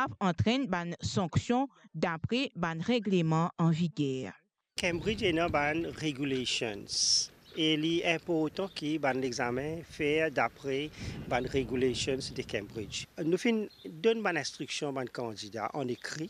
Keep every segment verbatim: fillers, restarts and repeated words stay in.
kapav antrenn bann sanksion dapre bann regleman an viger. Cambridge ena bann regulations e li inportan ki bann lexame fer dapre bann regulations de Cambridge. Nou finn donn bann instriksion bann kandida an ekri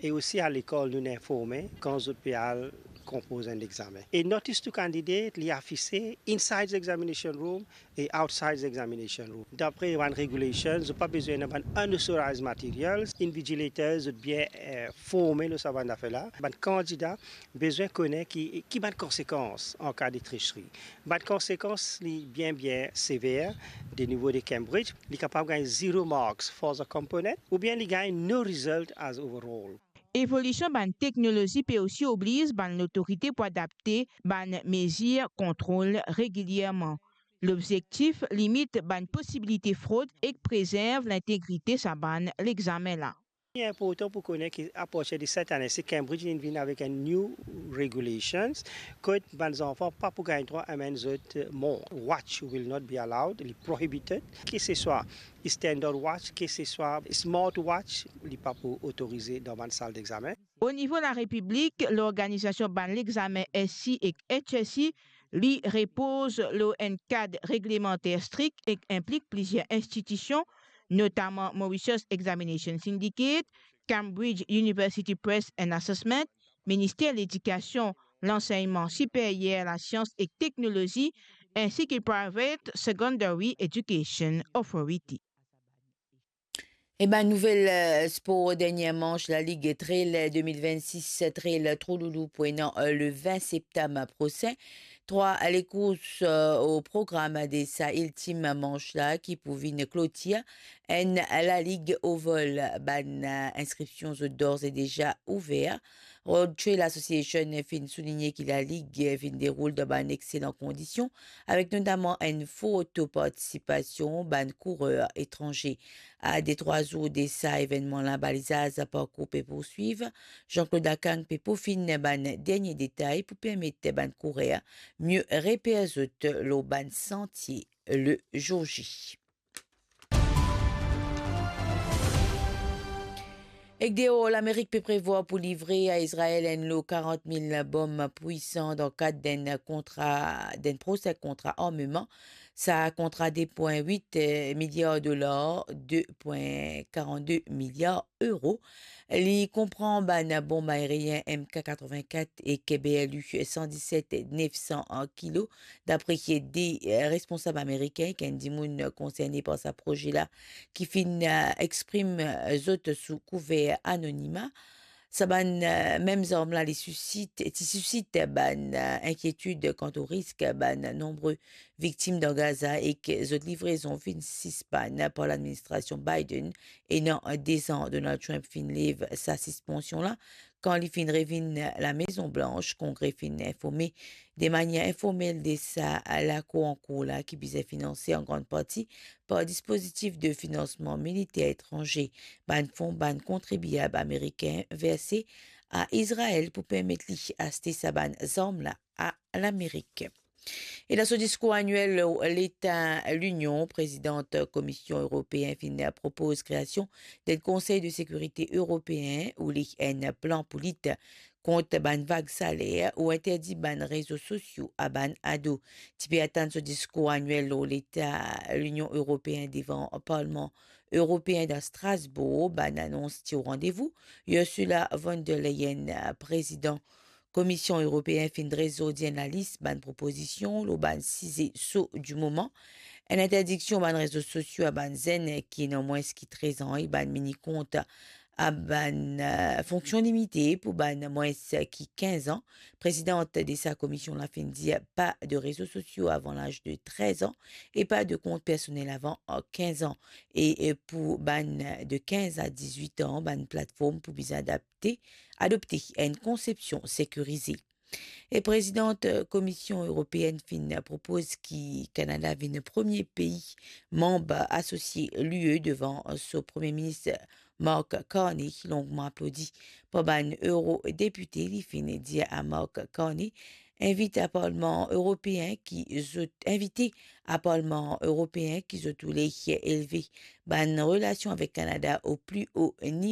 e osi a lekol nou informe kan zot pe al konpoz enn lexame. E notice to candidate, li afise inside the examination room e outside the examination room. Dapre bann regulations, zot pa bizin ena bann unauthorized materials. Invigilators, zot bien, eh, forme lor sa bann zafer la. Bann kandida bizin kone ki, ki bann konsekans an ka de tricherie. Bann konsekans li bien, bien sever, de nivo de Cambridge. Li kapav gagn zero marks for the component, oubien li gagn no result as overall. Evolision bann teknolozi pe osi obliz bann lotorite pou adapte bann mezir kontrol regilierman. Lobzektif, limit bann posibilite frod ek prezerv lintegrite sa bann lexame la. Li inportan pou kone ki apartir de set ane, se Cambridge inn vinn avek enn new regulations, kot bann zanfan pa pou gagn drwa amenn zot mont. Watch will not be allowed, li prohibited. Ke se swa standard watch, ke se swa smart watch, li pa pou otorize dan bann sal dexame. O nivo larepiblik, lorganizasion bann lexame S C ek H S C, li repoz lor enn kad reglemanter strik ek inplik plizier institision, notaman Mauritius Examination Syndicate, Cambridge University Press and Assessment, Minister Ledikasion, Lansegnman Siperyer, Lasians ek Teknolozi, ensi ki Private Secondary Education Authority. E bann nouvel, eh, spor, dernie manch Laligue Trail, eh, de mil vennsis, Trail Trou Loulou pou ena, eh, le vin septam prosin. Trwa lekours, eh, o program de sa iltim manch la ki pou vinn klotir enn Laligue Oval. Bann, eh, inskripsion zot d'ores et déjà ouver. Road Trail Association finn souligne ki lalig finn deroul dan bann exselan kondision, avek notaman enn for to partisipasion bann kourer etranze. A de trwa zour de sa evennman la, balizaz parkour pe pourswiv. Jean-Claude Akang pe pofinn bann dernie detay pou permet bann kourer mie reper zot lor bann santie le zour J. Ek deor, Lamerik pe prevwar pou livre a Izrael enn lo karant mil bom pwisan dan kad d'enn kontra, d'enn prosin kontra armeman. Sa kontra de pwin wit miliar dolar, de pwin karant de miliar euro. Li konpran bann bom aerien M K katrovin-kat ek B L U san diset nef san kilo, dapre de, eh, responsab amerikin ek enn dimoun konserne par sa proze la ki finn, eh, exprim, eh, zot sou kouver anonima. Sa bann, eh, mem zarm la, li sisit, ti sisit bann, eh, inkietid kant o risk bann nonbre viktim dan Gaza ek zot livrezon finn sispann par ladministrasion Biden. Ena de-z-an, Donald Trump finn lev sa sispansion la, kan li finn revinn Lamezon Blans, Kongre finn informe de manier informel de sa lakour ankour la ki bizin finanse an grann parti par dispozitif de finansman militer etranze, bann fon bann kontribiab amerikin verse a Izrael pou permet li aste sa bann zarm la a Lamerik. E dan so diskour aniel lor Leta Linion, Prezidant Komisyon Eropeen finn propoz kreasion d'enn Konsey de Sekirite Eropeen, oule enn plan pou lit kont bann vag saler ou interdi bann rezo sosio a bann ado. Ti pe atann so diskour aniel lor Leta Linion Eropeen devan Parlman Eropeen dan Strasbourg, bann anons ti o randevou. Ursula von der Leyen, Prezidan Komisyon Eropeen finn dres zordi enn lalis bann propozision lor bann size so di moman. Enn interdiksion bann rezo sosio a bann zenn ki ena mwins ki trez an ek bann mini kont a bann, eh, fonksyon limite pou bann mwins ki kinz an. Prezidant de sa komisyon la finn dir pa de rezo sosio avan laz de trez an e pa de kont personel avan kinz an. E, e pou bann de kinz a dizwit an, bann platform pou bizin adapte, adopte enn konsepsion sekirize. E Prezidant Komisyon Eropeen finn propoz ki Kanada vinn premie pei manb asosie l'U E devan so Premie Minis Mark Carney, longman aplodi par bann eurodepite. Li finn dir a Mark Carney, invit a Parlman Eropeen ki zot, invite a Parlman Eropeen ki zot oule elve bann relasion avek Kanada o pli o nivo.